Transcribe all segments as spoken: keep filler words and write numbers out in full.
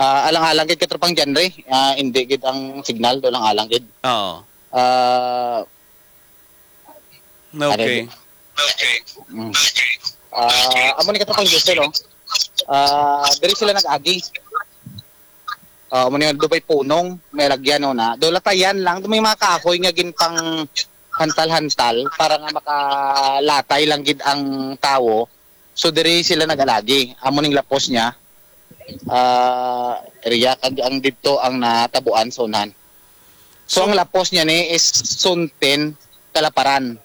Ah, alang-alang gid, Katropang Janry. Ah, hindi gid ang signal, do alang-alang gid. Oo. Ah, Okay. Mm. Ah, amo ni, Katropang Jose, no? Ah, diri sila nag-agi. Ah, amo ni, do bay punong, may lagyan, no, na. Do latayan lang, do may mga kahoy nga ginpang hantal-hantal para nga makalatay lang gid ang tawo. So, diri sila nag-alagi. Amo ning lapos niya. Ah, area, kag ang didto ang natabuan sa unahan. So, So, ang lapos niya ni is Sunten, Kalaparan.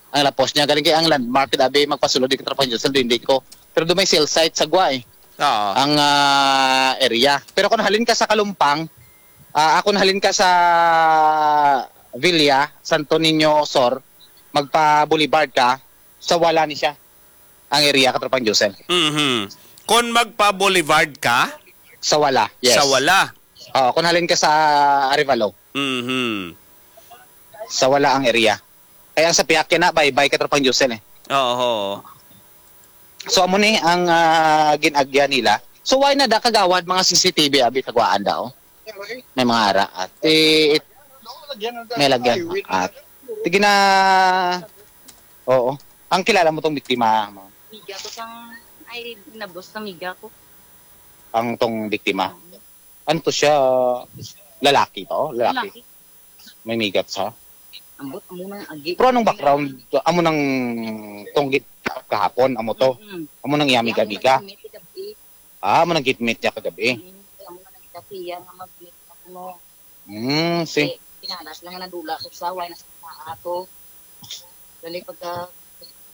Ang lapos niya, galing kay ang landmark, dabi magpasulod di ka, Tropang Josel, hindi ko. Pero do may cell site sa Guay, Oo. ang, ah, area. Pero kung halin ka sa Kalumpang, ah, kung halin ka sa Villa, Santo Niño Sur, magpa-boulevard ka, sa wala ni siya, ang area, Katropang Josel. Mhm. Kung magpa-boulevard ka, Sa wala, yes. Sa wala. Oo, kung halin ka sa Arevalo. Mhm. Sa wala ang area. Kaya sa Piaque na, bye-bye, Katropang Josel, eh. Oo. So, amo ni ang, ah, gin-agya nila. So, why na da kagawad mga C C T V abi taguaan daw? May mga ara. At, eh, it-, may lagyan. At, sige na, oo. Ang kilala mo tong biktima, ma'am? Miga ko sang, ay, nabos na miga ko. Ang tong biktima? Ano to siya? Lalaki to? Lalaki? Lalaki. May migat sa? Ambot, amo nang agi. Pero anong background? Amo nang tong git kahapon, amo to? Mm-mm. Amo nang iya miga-miga? Amo nang gitmit niya kagabi? Mm, amo nang gitmit niya kagabi. Mm, amo nang gitmit niya kuno. Mm, si. Eh, pinalas lang nga nadula ko sa way na sa ato. Dali pagka,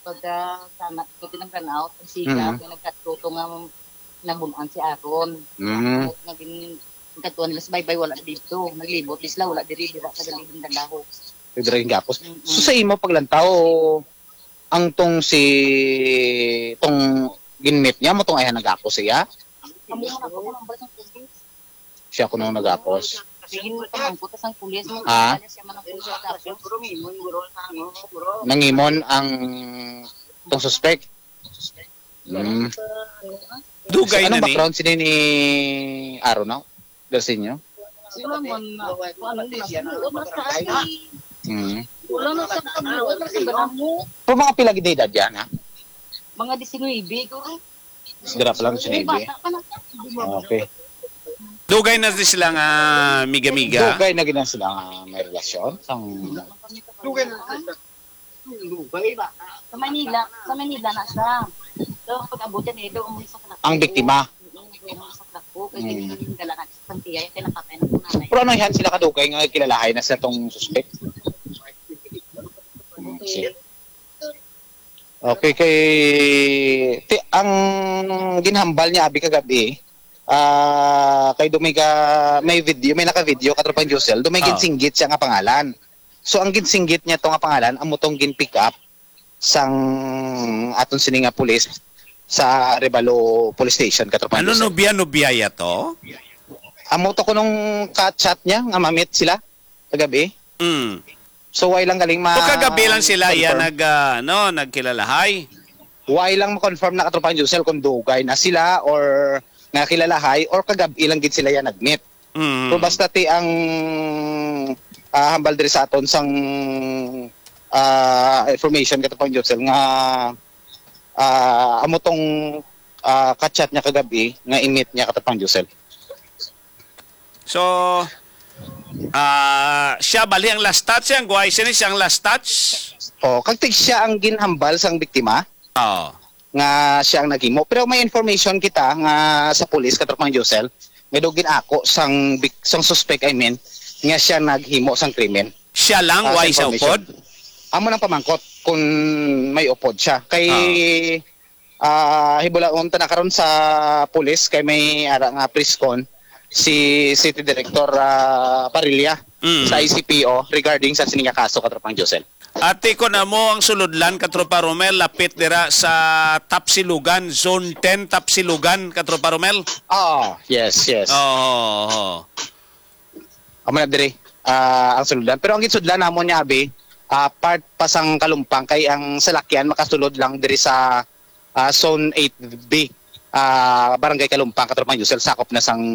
pagka sana ko tinangkanaw, ang siga, Mm. kaya nagkatuto nga nabun-an si Aaron. Mm. Nga gin-, nagkatuan nila sa baybay, wala dito. Naglibot di sila, wala diri, dira sa galibing dalaho. Dira yung gapos. Mm-mm. So, sa imo paglantaw, ang tong si, tong ginmit niya, mo tong ayhan nagapos siya? Amo na ako, nang basang tubig. Siya kuno nagapos. Sige, pamangkot sa pulis. Ha? Siya man ang pulis nagapos. Nangimon ang tong suspek. Hmm. Dugay Ano na ni. background sini ni Aaron, no? Garcinio? Wala man na. Ano na, wala na sa akin. Hmm. Wala na sa pagluod na sa banamo. Pero mga pila gid edad yan, ha? Mga diecinuebe, guro. Dira pa lang si Navy. Okay. Dugay na di sila nga miga-miga. Dugay na gid na sila nga may relasyon. Sang Dugay na sila. Dugay ba? Sa Manila, sa Manila na siya. So, pag-abot niya, eh, doon mo sa Kalapu. Ang biktima? Mm, doon mo sa Kalapu. Kaya Mm. Ginagalangan sa Santiago, kaya napatay na po nanay. Pero ano yan sila kadugay nga kilalahay na sa tong suspect? Mm, si- Okay, kay ti, ang ginhambal niya abi kagabi, ah, kay do may ga-, may video, may naka-video, Katropang Josel, do may Ah. ginsinggit siya nga pangalan. So, ang ginsinggit niya to nga pangalan, amo tong gin-pick up sang aton sini nga pulis sa Arevalo Police Station, Katropang Ano, Josel. Nobya, nobya ya to? Amo to kunong ka-chat niya nga mamit sila kagabi. Mm. So, why lang galing ma-, So, kagabi lang sila, confirm? Yan nag, ah, ano, nagkilalahay? Why lang ma-confirm na, Katropang Josel, kung dugay na sila or nakilalahay or kagabi lang gid sila yan nag-meet? Mm. So, basta ti ang, ah, hambal diri sa aton sang, ah, information, Katropang Josel, nga, ah, amo tong, ah, ka-chat niya kagabi nga i-meet niya, Katropang Josel. So, ah, siya bali ang last touch, ang guway sini siya ang last touch? Oh, kag tig siya ang ginhambal sang biktima Oo. nga siya ang naghimo. Pero may information kita nga sa pulis, Katropang Josel, nga daw ginako sang bik-, sang suspect, I mean, nga siya naghimo sang krimen. Siya lang, Ah, sa way sa information. Upod? Amo nang pamangkot kung may upod siya. Kay, Oo. ah, hibulaon ta na karon sa pulis kay may ara nga press con si City Director, ah, Parilla Mm. sa I C P O regarding sa sini nga kaso, Katropang Josel. Ati, kon amo ang sulodlan, Katropa Romel, lapit dira sa Tapsilugan, Zone ten, Tapsilugan, Katropa Romel? Oo, yes, yes. Oo, oo. Amo na diri, ah, ang sulodlan. Pero ang ginsudlan namon niya, abi, ah, part pa sang Kalumpang, kay ang salakyan makasulod lang diri sa, ah, Zone eight B, ah, Barangay Kalumpang, Katropang Josel, sakop na sang